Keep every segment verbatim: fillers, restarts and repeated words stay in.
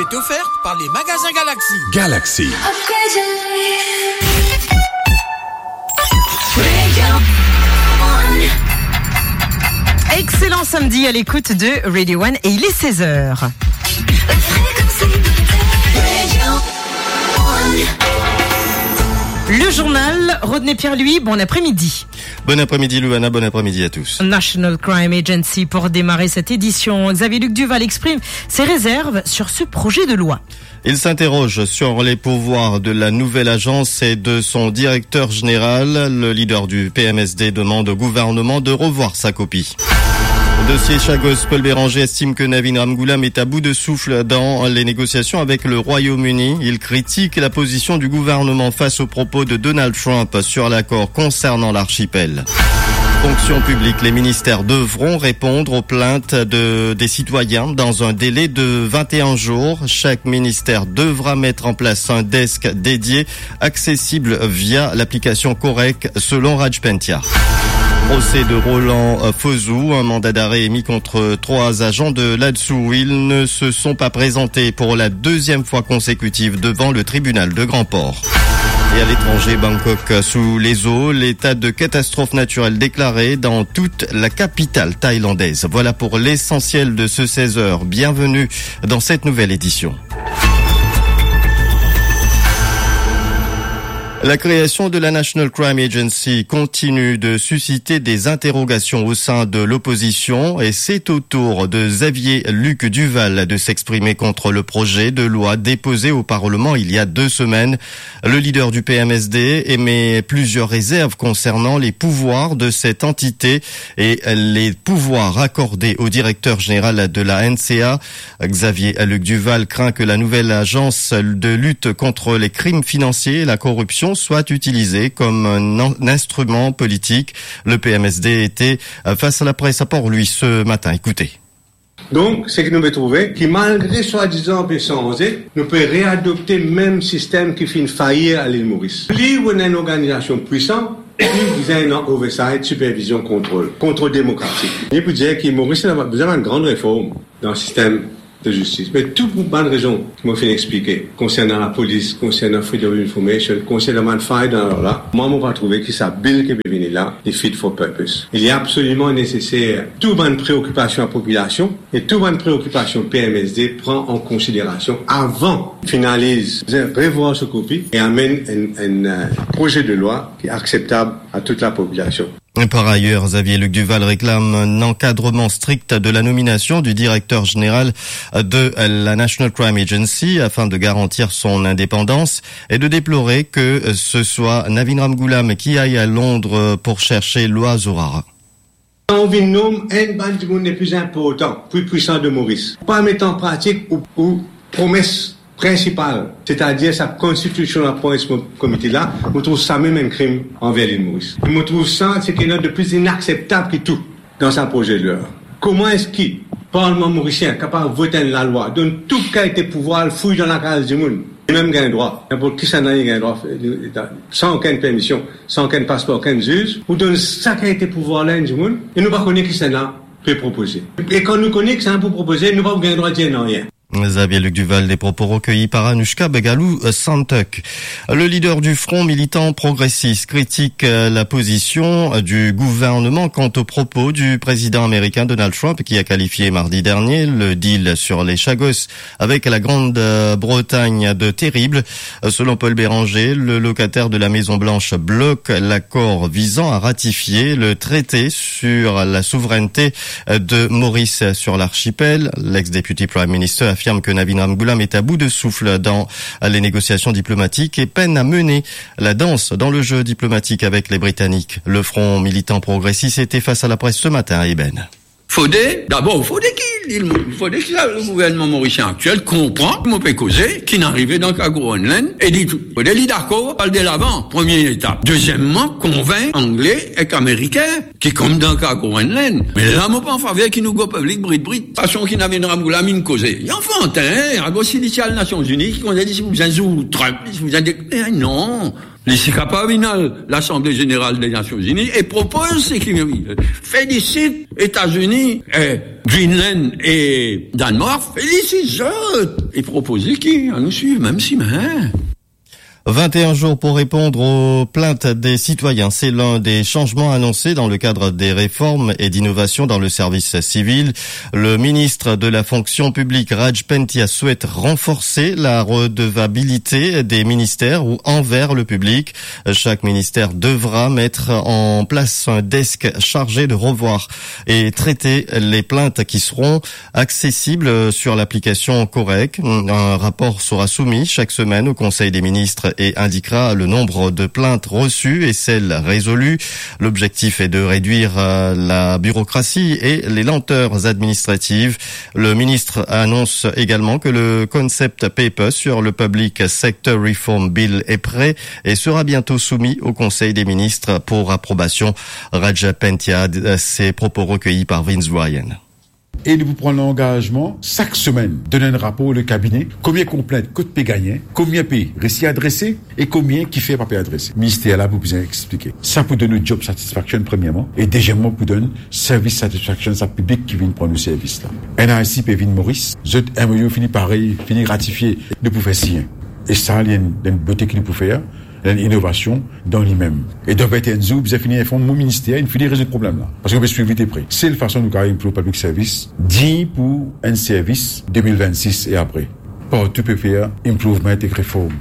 Est offerte par les magasins Galaxy. Galaxy. Excellent samedi à l'écoute de Radio One et il est seize heures. Le journal, Rodney Pierre-Louis, bon après-midi. Bon après-midi, Louana, bon après-midi à tous. National Crime Agency pour démarrer cette édition. Xavier Luc Duval exprime ses réserves sur ce projet de loi. Il s'interroge sur les pouvoirs de la nouvelle agence et de son directeur général. Le leader du P M S D demande au gouvernement de revoir sa copie. Dossier Chagos, Paul Bérenger estime que Navin Ramgoolam est à bout de souffle dans les négociations avec le Royaume-Uni. Il critique la position du gouvernement face aux propos de Donald Trump sur l'accord concernant l'archipel. Fonction publique, les ministères devront répondre aux plaintes de, des citoyens dans un délai de vingt et un jours. Chaque ministère devra mettre en place un desk dédié accessible via l'application Korek, selon Raj Pentia. Procès de Roland Fozou, un mandat d'arrêt émis contre trois agents de l'ADSOU. Ils ne se sont pas présentés pour la deuxième fois consécutive devant le tribunal de Grand-Port. Et à l'étranger, Bangkok sous les eaux, l'état de catastrophe naturelle déclaré dans toute la capitale thaïlandaise. Voilà pour l'essentiel de ce seize heures. Bienvenue dans cette nouvelle édition. La création de la National Crime Agency continue de susciter des interrogations au sein de l'opposition et c'est au tour de Xavier Luc Duval de s'exprimer contre le projet de loi déposé au Parlement il y a deux semaines. Le leader du P M S D émet plusieurs réserves concernant les pouvoirs de cette entité et les pouvoirs accordés au directeur général de la N C A. Xavier Luc Duval craint que la nouvelle agence de lutte contre les crimes financiers et la corruption soit utilisée comme un in-, un instrument politique. Le P M S D était, euh, face à la presse à Port-Louis ce matin. Écoutez. Donk, seki nou pe trouve, ki malgre swadizan pe sanze, nou pe readopte mem sistem ki finn fayir a Lil Moris. Pli ou ena enn organizasion pwisan, pli bizin ena oversight, sipervizion, kontrol, kontrol demokratik. Li pou dir ki Moris ena bizin enn gran reform dan sistem de zistis. Me tou pou bann rezon ki mo finn explike, konsernan lapolis, konsernan Freedom of Information, konsernan bann fay dan lalwa, mwa mo pa trouve ki sa bill ki pe vini la, li fit for purpose. Li absoliman neseser tou bann preokipasion lapopilasion e tou bann preokipasion P M S D pran an konsiderasion avan finaliz, revwar so kopi e amenn enn, enn, euh, proze de lwa ki akseptab a tout lapopilasion. Par ailleurs, Xavier Luc Duval réclame un encadrement strict de la nomination du directeur général de la National Crime Agency afin de garantir son indépendance et de déplorer que ce soit Navin Ramgoolam qui aille à Londres pour chercher Loaz Hourara. Kan ou vinn nom enn bann dimoun lepli inportan, pli pwisan de Moris, pa met an pratik ou, ou promes prinsipal, setadir sa constitutional appointments committee la, mo trouv sa mem enn krim anver Lil Moris. Mo trouv sa, seki ena de pli inakseptab ki tou dan sa proze de lwa. Kouma eski parlman morisien kapav vot enn lalwa, donn tou kalite pouvwar al fouy dan lakaz dimoun, li mem gagn drwa, ninport kisannla li gagn drwa, san okenn permision, san okenn paspor, okenn ziz, pou donn sa kalite pouvwar la enn dimoun, e nou pa kone kisannla pe propoze. E kan nou kone kisannla pou propoze, nou pa pou gagn drwa dir nanye. Xavier Luc Duval, des propos recueillis par Anushka Begalou, euh, Santok. Le leader du Front militant progressiste critique, euh, la position, euh, du gouvernement quant aux propos du président américain Donald Trump, qui a qualifié mardi dernier le deal sur les Chagos avec la Grande, euh, Bretagne de terrible. Euh, selon Paul Bérenger, le locataire de la Maison Blanche bloque l'accord visant à ratifier le traité sur la souveraineté de Maurice sur l'archipel. L'ex-député Prime Minister affirme que Navin Ramgoolam est à bout de souffle dans les négociations diplomatiques et peine à mener la danse dans le jeu diplomatique avec les Britanniques. Le Front militant progressiste était face à la presse ce matin à Ébène. Fode, dabor, fode ki, fode ki le gouvernman morisien aktiel konpran ki mo pe koze, ki finn arive dan ka Groenland, e li tou. Fode li dakor al delavan, premie etap. Dezieman, konvink Angle ek Amerikin ki kom dan ka Groenland. Me la, mo pa an faver ki nou go piblik brit brit. Fason ki Navin Ramgoolam inn koze. Li anfantin, hein, akoz si li ti al Nasion Zini, ki konnen li ti pou bizin zour Trump, li ti pou bizin de-, eh, non. Li ti kapav vinn al Lasanble Zeneral de Nasion Ini e propoz seki li vle. Felisit Etazini, eh, Greenland e Danmark, felisit zot e propoz ki anou swiv mem simin. Vingt et un jours pour répondre aux plaintes des citoyens, c'est l'un des changements annoncés dans le cadre des réformes et d'innovations dans le service civil. Le ministre de la fonction publique, Raj Pentia, souhaite renforcer la redevabilité des ministères ou envers le public. Chaque ministère devra mettre en place un desk chargé de revoir et traiter les plaintes qui seront accessibles sur l'application Correc. Un rapport sera soumis chaque semaine au Conseil des ministres et indiquera le nombre de plaintes reçues et celles résolues. L'objectif est de réduire, euh, la bureaucratie et les lenteurs administratives. Le ministre annonce également que le concept paper sur le Public Sector Reform Bill est prêt et sera bientôt soumis au Conseil des ministres pour approbation. Raj Pentia, euh, ces propos recueillis par Vince Bryan. E nou pou pran langazman sak semenn donn enn rapor le kabine, konbien konplint kot pe gagne, konbien pe resi adrese e konbien kifer pa pe adrese. Minister la pou bizin explike. Sa pou donn nou job satisfaction premierman, e dezieman pou donn service satisfaction sa piblik ki vinn pran nou servis la. N I C pe vinn Moris, zot M O U fini pare, fini ratifie, nou pou fer sign. E sa li enn, enn bote ki nou pou fer, enn inovasion dan limem. E dan vingt et un zour, bizin fini inform mo minister, inn fini rezoud problem la. Parski nou pe swiv li de pre. Sel fason nou kapav improve public service, dign pou enn servis de mil vennsis e apre. Partou pe fer improvement ek reform.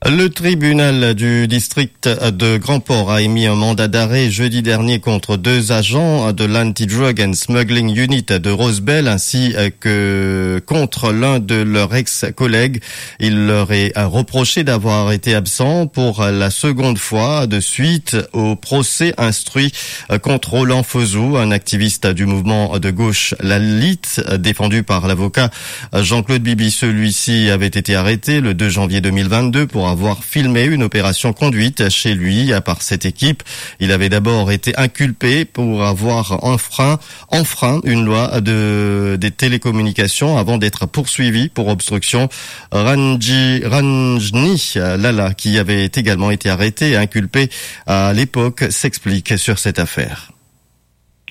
Le tribunal du district de Grand-Port a émis un mandat d'arrêt jeudi dernier contre deux agents de l'Anti-Drug and Smuggling Unit de Rosebel ainsi que contre l'un de leurs ex-collègues. Il leur est reproché d'avoir été absent pour la seconde fois de suite au procès instruit contre Roland Fozou, un activiste du mouvement de gauche La Lite, défendu par l'avocat Jean-Claude Bibi. Celui-ci avait été arrêté le deux janvier deux mille vingt-deux pour avoir filmé une opération conduite chez lui par cette équipe. Il avait d'abord été inculpé pour avoir enfreint, enfreint une loi de, des télécommunications avant d'être poursuivi pour obstruction. Ranji, Ranjni Lala, qui avait également été arrêté et inculpé à l'époque, s'explique sur cette affaire.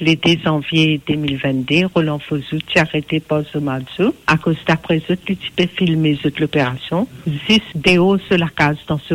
Le deux janvier deux mille vingt-deux, Roland Fozou ti arete par so mazo, akoz dapre zot, li ti pe filme zot loperasion, zis deor so lakaz dan so